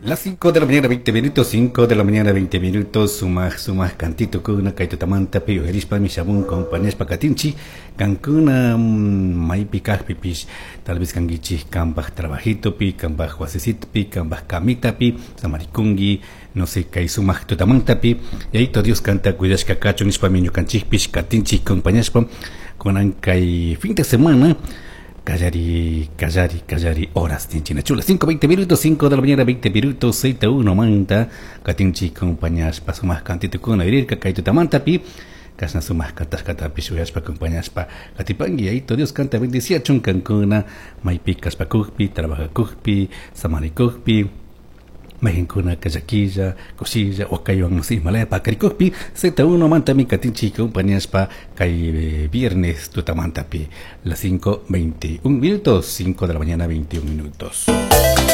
Las 5 de la mañana 20 minutos, 5 de la mañana 20 minutos, sumaj sumaj cantito kuna kay tutamantapi uyarishpami shamun compañashpa katinchik kankuna maypi kajpipish tal vez kankichik kanpaj trabajitopi, kanpaj wasisitopi, kanpaj camitapi samarikunki, no sé, kay sumaj tutamantapi Yayito Dios kanta cuidashka kachun nishpami ñukanchikpish katinchik compañashpa kunan kay fin de semana Callari, callari, callari, horas tinchina chula. 5, 20 minutos, 5 de la mañana, 20 minutos, 6 1 manta. Katinchi compañashpa sumaq kantitukuna irirka kay tutamantapi. Kashna sumaq kantashkatapish uyashpa acompañashpa katipanki. Yayito Dios kanta bendiciachun kankuna maypi kashpakukpi, trabajakukpi, samarikukpi. Mayqinkunaka llaquilla, kushilla, wakaywan no sé imalaya pakarikukpi Z1 mantami katinchik compañashpa kay viernes tutamantapi las 5:21 minutos, 5 de la mañana 21 minutos.